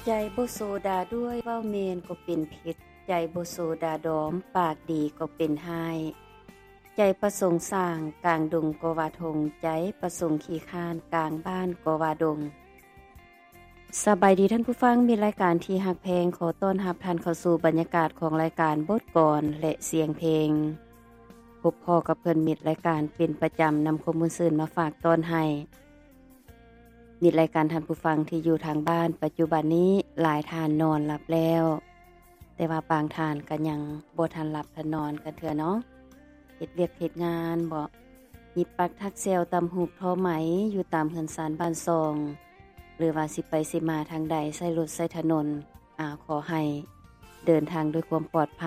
ໃຈບໍ່ໂຊດາດ້ວຍ ເວົ້າແມ່ນກໍເປັນເພັດ ໃຈບໍ່ໂຊດາດອມ ປາກດີກໍເປັນຮ້າຍ ໃຈປະສົງສ້າງ ກາງດົງກໍວ່າທົ່ງ ໃຈປະສົງຂີ້ຄ້ານ ກາງບ້ານກໍວ່າດົງ. ສະບາຍດີທ່ານຜູ້ຟັງ ມິດລາຍການທີ່ຮັກແພງ ຂໍຕ້ອນຮັບທ່ານເຂົ້າສູ່ບັນຍາກາດຂອງລາຍການບົດກອນ ແລະ ສຽງເພງ. ພົບພໍ້ກັບເພື່ອນມິດລາຍການເປັນປະຈຳ ນຳຄວາມມ່ວນຊື່ນມາຝາກຕ້ອນໃຫ້ ມິດລາຍການທ່ານຜູ້ຟັງທີ່ຢູ່ທາງບ້ານ ປັດຈຸບັນນີ້ຫຼາຍທ່ານນອນຫຼັບແລ້ວ ແຕ່ວ່າບາງທ່ານກໍຍັງບໍ່ທັນຫຼັບທັນນອນກັນເທື່ອເນາະ ເຮັດວຽກເຮັດງານບໍ ຫຍິບປັກຖັກແຊວ ຕຳຫູກທໍໄໝ ຢູ່ຕາມເຮືອນຊານບ້ານຊ່ອງ ຫຼືວ່າຊິໄປຊິມາທາງໃດ ໃຊ້ລົດໃຊ້ຖະໜົນ ອາ ຂໍໃຫ້ເດີນທາງດ້ວຍຄວາມປອດໄພ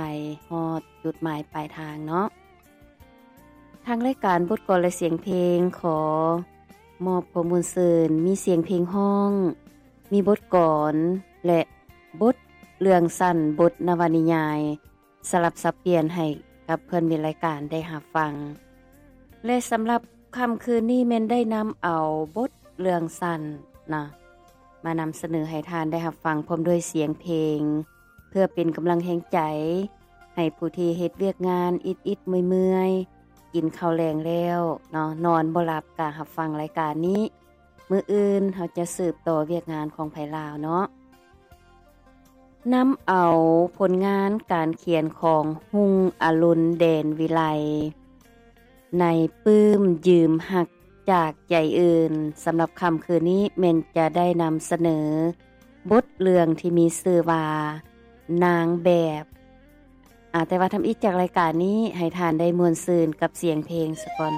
ຮອດຈຸດໝາຍປາຍທາງເນາະ. ທາງລາຍການບົດກອນ ແລະ ສຽງເພງ ຂໍມອບຄວາມມ່ວນຊື່ນ ມີສຽງເພງຮ້ອງ ມີບົດກອນ ແລະ ບົດເລື່ອງສັ້ນ ບົດນະວະນິຍາຍ ສະຫຼັບສັບປ່ຽນໃຫ້ກັບເພື່ອນມິດລາຍການໄດ້ຮັບຟັງ ແລະ ສຳລັບຄ່ຳຄືນນີ້ແມ່ນໄດ້ນຳເອົາບົດເລື່ອງສັ້ນນະ ມານຳສະເໜີໃຫ້ທ່ານໄດ້ຮັບຟັງ ພ້ອມດ້ວຍສຽງເພງ ເພື່ອເປັນກຳລັງແຮງໃຈໃຫ້ຜູ້ທີ່ເຮັດວຽກງານອິດໆເມື່ອຍໆ ກິນເຂົ້າແລງແລ້ວເນາະ ນອນບໍ່ຫຼັບ ກະຮັບຟັງລາຍການນີ້ ມື້ອື່ນເຮົາຈະສືບຕໍ່ວຽກງານຂອງໃຜລາວເນາະ. ນຳເອົາຜົນງານການຂຽນຂອງຮຸ່ງອະລຸນ ແດນວິໄລ ໃນປຶ້ມຢືມຮັກຈາກໃຈອື່ນ ສຳລັບຄ່ຳຄືນນີ້ແມ່ນຈະໄດ້ນຳສະເໜີບົດເລື່ອງທີ່ມີຊື່ວ່າ ນາງແບບ ອາ ແຕ່ວ່າທຳອິດຈາກລາຍການນີ້ ໃຫ້ທ່ານໄດ້ມ່ວນຊື່ນກັບສຽງເພງສາກ່ອນ.